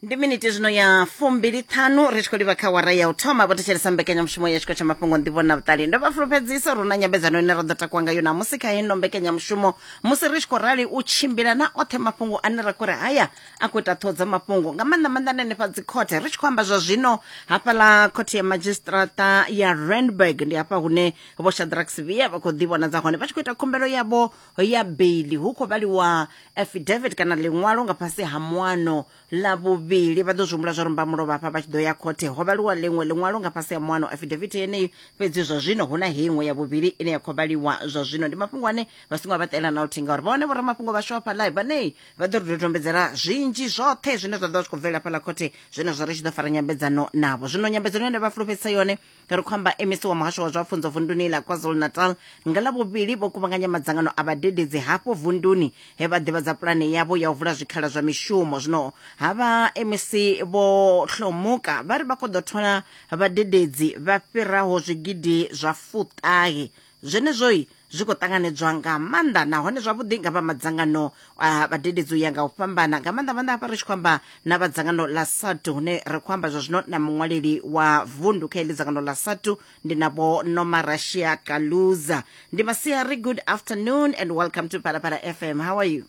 Ndi miniti zwino ya 25 ri tshi khou livha kha wara ya u thoma. Vho thetshelesa mbekanyamushumo ya tshiko tsha mafhungo nḓivho na vhuṱali. Ndo vha fulufhedzisa uri hu na nyambedzano ine ra ḓo takuwa ngayo namusi kha heno mbekanyamushumo musi ri tshi khou rali u tshimbila na oṱhe mafhungo ane ra khou ri haya a khou ita ṱhoho dza mafhungo nga maanḓa maanḓa hanefha dzikhothe. Ri tshi khou amba zwa zwino hafhaḽa khothe ya madzhisiṱiraṱa ya Randburg, ndi hafha hune Vho Shadrack Sibiya vha khou ḓivhonadza hone vha tshi khou ita khumbelo yavho ya beili. Hu khou vhaliwa affidavit kana ḽiṅwalo nga fhasi ha muano ḽa vhuvhili. Vha ḓo zwi humbula zwa uri mbamulovha hafha vha tshi ḓo ya khothe ho vhaliwa ḽiṅwe ḽiṅwalo nga fhasi ha muano affidavit yeneyi, fhedzi zwa zwino hu na heyi iṅwe ya vhuvhili ine ya khou vhaliwa zwa zwino. Ndi mafhungo ane vha songo vha ṱela na luthihi ngauri vhone vhoramafhungo vhashu hafha live vhane vha ḓo ri dodombedzela zwinzhi zwoṱhe zwine zwa ḓo vha zwi khou bvelela fhaḽa khothe zwenezwo ri tshi ḓo fara nyambedzano navho. Zwino nyambedzano ine vha fulufhedzisa yone Ri khou amba MEC wa muhasho wa zwa pfunzo vunduni ḽa KwaZulu-Natal nga Ḽavhuvhili vho kuvhanganya madzangano a vhadededzi hafho vunduni he vha ḓivhadza pulane yavho ya u vula zwikhala zwa mishumo. Zwino havha MEC Vho Hlomuka vha ri vha khou ḓo thola vhadededzi vha fhiraho zwigidi zwa fuṱahe. Zwenezwoi zwi khou ṱanganedzwa nga maanḓa nahone zwavhuḓi nga vha madzangano a vhadededzi u ya nga u fhambana, nga maanḓa maanḓa hafha ri tshi khou amba na vha dzangano ḽa SADTU, hune ri khou amba zwa zwino na muṅwaleli wa vundu kha heḽi dzangano ḽa SADTU, ndi na Vho Nomarashiya Caluza. Ndi masiari, good afternoon and welcome to Phalaphala FM. How are you?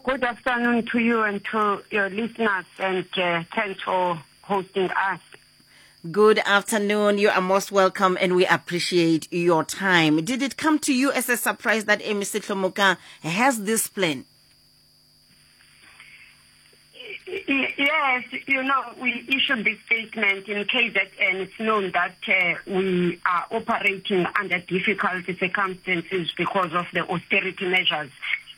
Good afternoon to you and to your listeners, and thanks for hosting us. Good afternoon. You are most welcome and we appreciate your time. Did it come to you as a surprise that MEC Hlomuka has this plan? Yes, we issued this statement in KZN. It's known that we are operating under difficult circumstances because of the austerity measures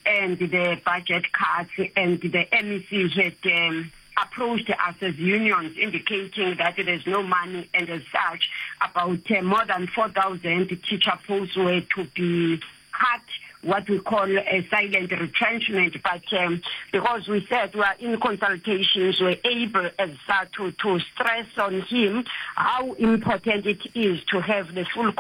and the budget cuts, and the MEC had approached us as unions indicating that there's no money, and as such, about more than 4,000 teacher posts were to be cut, what we call a silent retrenchment. But because we said we are in consultations, we're able as such to stress on him how important it is to have the full